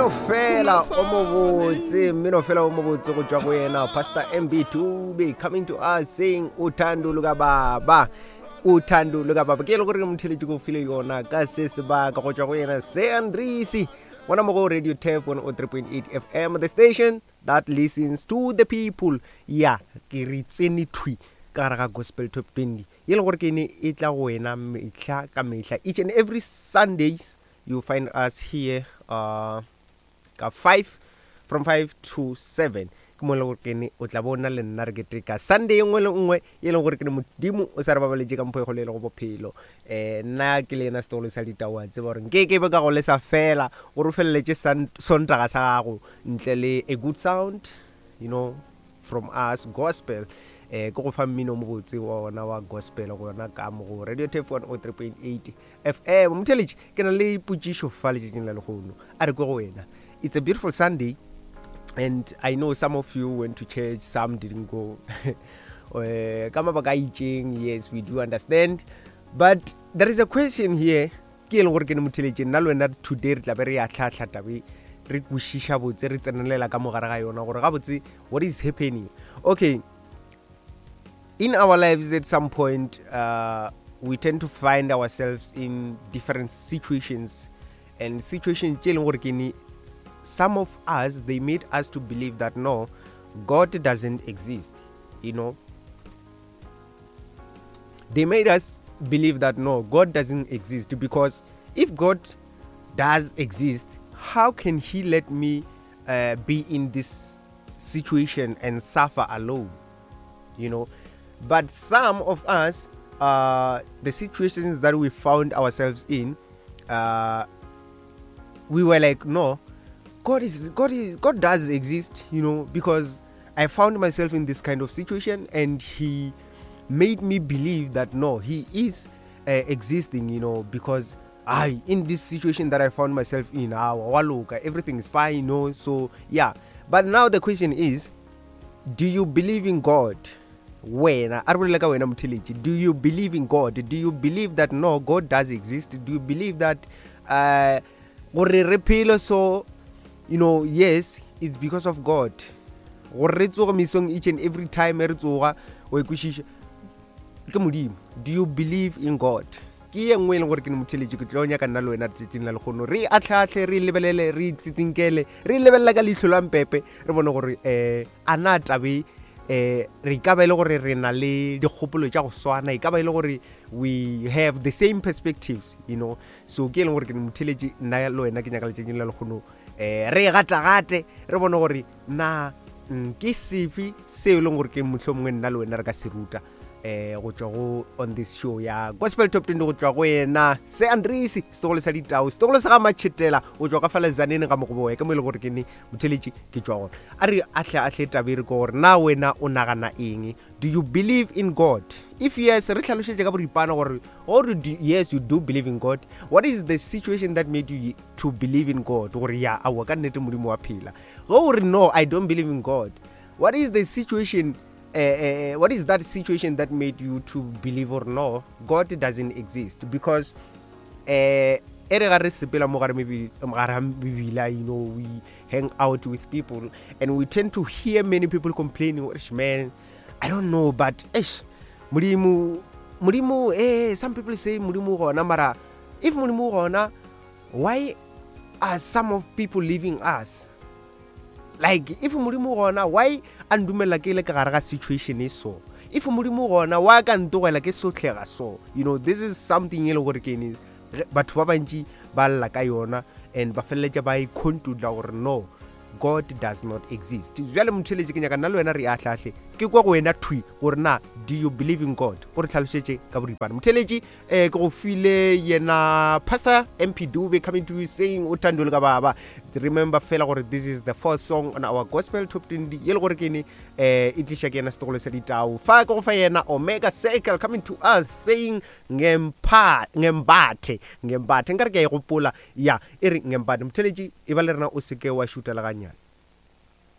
Mmino fela o mobotse, mmino fela o mobotse go tšwa go yena Pastor MB Dube coming to us saying uthando luka baba. Uthando luka baba. Ke e le gore motheletši go file yona ka se sebaka go tšwa go yena Se Andrisi. Gona mo go Radio Tap 103.8 FM, the station that listens to the people. Ya, ke re tsene thwi ka gare ga Gospel Top 20. Ye le gore ke ne e tla go wena mehla ka mehla. Each and every Sundays you find us here uh, ka 5 from 5 to 7 ke mo e leng gore ke ne o tla bona le nna re keteka Sunday e nngwe le nngwe e leng gore ke ne Modimo o sa re babaletše ka mpho e kgolo e lego bophelo. Um nna ke le yena setogolo sa ditau a tseba gore nke ke be ka go lesa fela gore o feleletše Sontaga sa gago ntle le a good sound, you know, from us gospel. Eh ke go fa mmino o mobotse wa ona wa gospel gona ka mo go Radio Tap 103.8 FM. Motheletši, ke na le potšišo fa letšatšing la lehono. A re kwe go wena. It's a beautiful Sunday and I know some of you went to church, some didn't go. Eh, ka mabaka a itšeng, yes, we do understand. But there is a question here ke e leng gore ke ne motheletši nna le wena today re tla be re ya tlhatlha tabe re kwešiša botse re tsenelela ka mogare ga yona gore gabotse what is happening. Okay, in our lives at some point we tend to find ourselves in different situations, and situations tše e leng gore ke ne some of us, they made us to believe that no, God doesn't exist, you know. They made us believe that no, God doesn't exist, because if God does exist, how can he let me be in this situation and suffer alone, you know? But some of us, the situations that we found ourselves in, we were like, no, God does exist, you know, because I found myself in this kind of situation and he made me believe that no, he is existing, you know, because I, in this situation that I found myself in, waloka, everything is fine, you know. But now the question is, do you believe in God? Wena, a re bolele ka wena motheletši, do you believe in God? Do you believe that no, God does exist? Do you believe that gore re phele so, you know, yes, it's because of God. Gore re tsoge mesong each and every time re tsoga, o ikwešiša, ke Modimo. Do you believe in God? Ke ye nngwe e leng gore ke ne motheletši, ke tlo nyaka nna le wena letšatšing la lehono re atlhaatlhe, re lebelele, re itsitsinkele, re lebelela ka leihlo la mpepe, re bone gore a na tabe, re ka ba e le gore re na le dikgopolo tša go swana, e ka ba e le gore we have the same perspectives, you know. So ke e leng gore ke ne motheletši, nna le wena ke nyaka letšatšing la lehono, re gata-gate, re bone gore na ke sefe seo e leng gore ke mohlomongwe nna le wena re ka se ruta, go tšwa go on this show ya Gospel Top 20 go tšwa go yena Se Andrisi, setogolo sa ditau, setogolo sa ga Matšhetela, go tšwa ka fa Lezaneng ga Mogoboya, ke mo e leng gore ke ne motheletši ke tšwa gona. A re ahle ahle taba e re ke gore na wena o nagana eng? Do you believe in God? If yes, re hlalošetše ka boripana gore or do, yes, you do believe in God. What is the situation that made you to believe in God? Gore ya aowa ka nnete Modimo wa phela. Ge o re no, I don't believe in God. What is the situation? What is that situation that made you to believe or no, God doesn't exist? Because e re ga re sepela mo gare gare ga mebila, you know, we hang out with people and we tend to hear many people complaining, Eish, man, I don't know, but eish, Modimo, Modimo, some people say Modimo gona, mara if Modimo gona, why are some of people leaving us? Like, if Modimo gona, why a ndumela ke le ka gare ga situation e so? If Modimo gona, why ka ntogela ke sotlhega so? You know, this is something e le gore ke ne, batho ba bantši ba lla ka yona and ba feleletša ba ikhontula gore no, God does not exist. Bjale motheletši ke nyaka nna le wena re ahlahle, ke kwa go wena thwi gore na do you believe in God? O re hlalošetše ka boripana. Motheletši, ke go file yena Pastor MP Dube coming to you saying o thandwe le ka baba. Remember fela gore this is the fourth song on our Gospel Top 20 ye le gore ke ne, e tliša ke yena setogolo sa ditau. Fa ke go fa yena Omega Circle coming to us saying ngembathe, ngembathe. Nkare ke a e gopola, ya, e re ngembathe. Motheletši, e ba le rena o seke wa šuta le gannyane.